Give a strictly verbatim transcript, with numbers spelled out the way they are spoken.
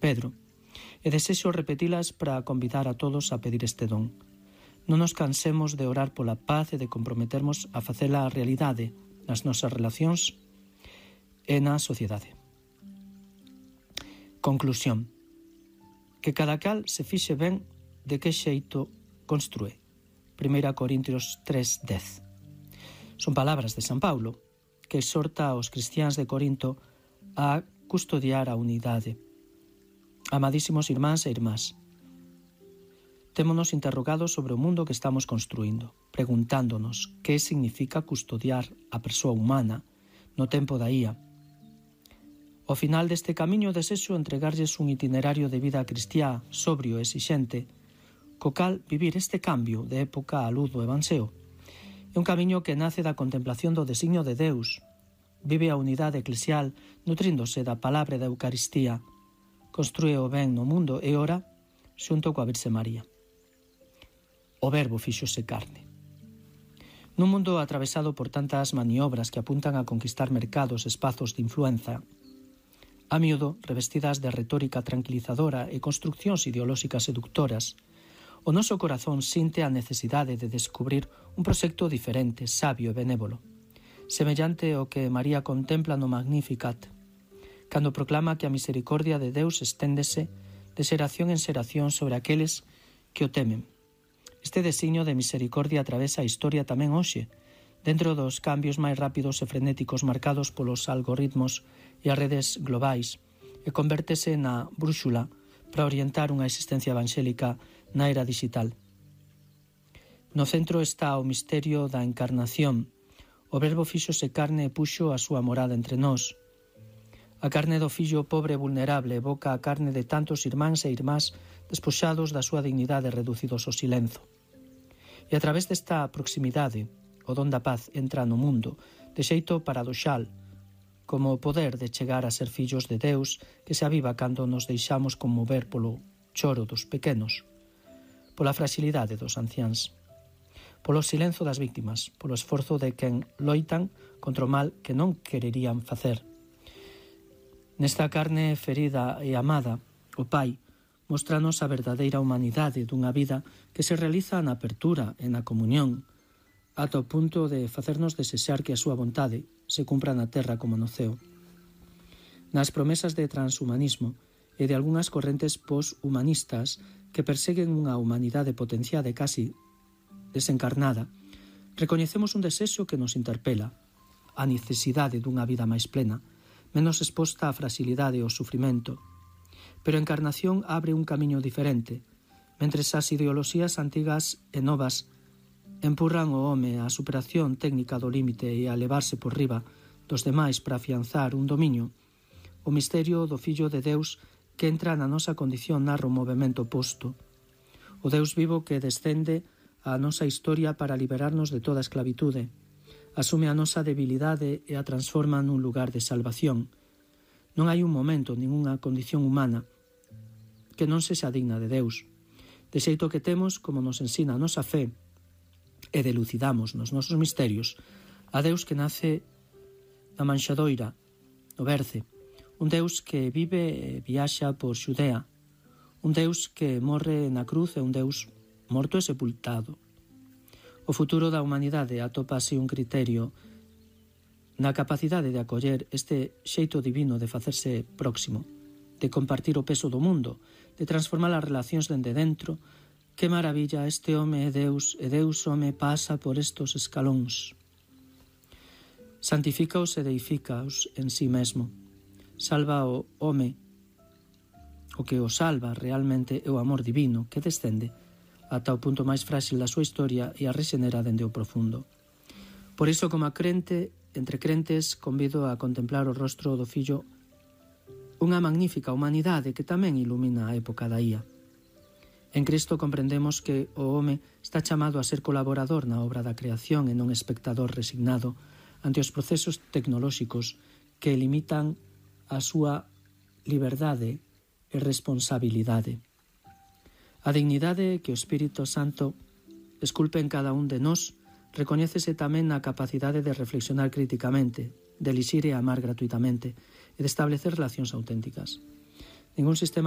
Pedro, e desexo repetilas para convidar a todos a pedir este don. Non nos cansemos de orar pola paz e de comprometermos a facela a realidade nas nosas relacións e na sociedade. Conclusión. Que cada cal se fixe ben de que xeito construe. Primeira Corintios tres, dez. Son palabras de San Paulo, que exhorta aos cristiáns de Corinto a custodiar a unidade. Amadísimos irmáns e irmás, témonos interrogados sobre o mundo que estamos construindo, preguntándonos que significa custodiar a persoa humana no tempo da I A. Ao final deste camiño desexo entregarlles un itinerario de vida cristiá sobrio e exixente, co cal vivir este cambio de época á luz do Evanxeo. É un camiño que nace da contemplación do designio de Deus, vive a unidade eclesial nutríndose da palabra da Eucaristía, construe o ben no mundo e ora xunto coa Virxe María. O Verbo fíxose carne. Nun mundo atravesado por tantas maniobras que apuntan a conquistar mercados e espazos de influenza, a miúdo revestidas de retórica tranquilizadora e construccións ideolóxicas seductoras, o noso corazón sinte a necesidade de descubrir un proxecto diferente, sabio e benévolo, semellante ao que María contempla no Magnificat, cando proclama que a misericordia de Deus esténdese de xeración en xeración sobre aqueles que o temen. Este designio de misericordia atravesa a historia tamén hoxe, dentro dos cambios máis rápidos e frenéticos marcados polos algoritmos e as redes globais, e convértese na brúxula para orientar unha existencia evangélica na era digital. No centro está o misterio da encarnación. O Verbo fíxose carne e puxo a súa morada entre nós. A carne do fillo pobre e vulnerable evoca a carne de tantos irmáns e irmás despoxados da súa dignidade e reducidos ao silenzo. E a través desta proximidade, o don da paz entra no mundo, de xeito paradoxal, como o poder de chegar a ser fillos de Deus que se aviva cando nos deixamos conmover polo choro dos pequenos, pola fragilidade dos anciáns, polo silenzo das víctimas, polo esforzo de quen loitan contra o mal que non quererían facer. Nesta carne ferida e amada, o Pai mostranos a verdadeira humanidade dunha vida que se realiza na apertura e na comunión, ata o punto de facernos desexar que a súa vontade se cumpra na terra como no ceo. Nas promesas de transhumanismo e de algunhas correntes poshumanistas que perseguen unha humanidade potenciada e casi desencarnada, recoñecemos un desexo que nos interpela, a necesidade dunha vida máis plena, menos exposta á fragilidade e ao sufrimento. Pero a encarnación abre un camiño diferente, mentres as ideoloxías antigas e novas empurran o home á superación técnica do límite e a levarse por riba dos demais para afianzar un dominio. O misterio do Fillo de Deus que entra na nosa condición narra o movimento oposto. O Deus vivo que descende á nosa historia para liberarnos de toda esclavitude, asume a nosa debilidade e a transforma nun lugar de salvación. Non hai un momento, ningunha condición humana que non sexa digna de Deus. De xeito que temos, como nos ensina a nosa fe, e delucidamos nos nosos misterios, a Deus que nace na manxadoira, no berce, un Deus que vive e viaxa por Xudea, un Deus que morre na cruz e un Deus morto e sepultado. O futuro da humanidade atopa así un criterio na capacidade de acoller este xeito divino de facerse próximo, de compartir o peso do mundo, de transformar as relacións dende dentro. Que maravilla, este home é Deus, e Deus home pasa por estos escalóns. Santifícaos e deifícaos en sí mesmo. Salva o home. O que o salva realmente é o amor divino que descende ata o punto máis frágil da súa historia e a rexenera dende o profundo. Por iso, como a crente, entre crentes, convido a contemplar o rostro do Fillo, unha magnífica humanidade que tamén ilumina a época da I A. En Cristo comprendemos que o home está chamado a ser colaborador na obra da creación e non espectador resignado ante os procesos tecnolóxicos que limitan a súa liberdade e responsabilidade. A dignidade que o Espírito Santo esculpe en cada un de nós recoñécese tamén na capacidade de reflexionar críticamente, de elixir e amar gratuitamente e de establecer relacións auténticas. Ningún sistema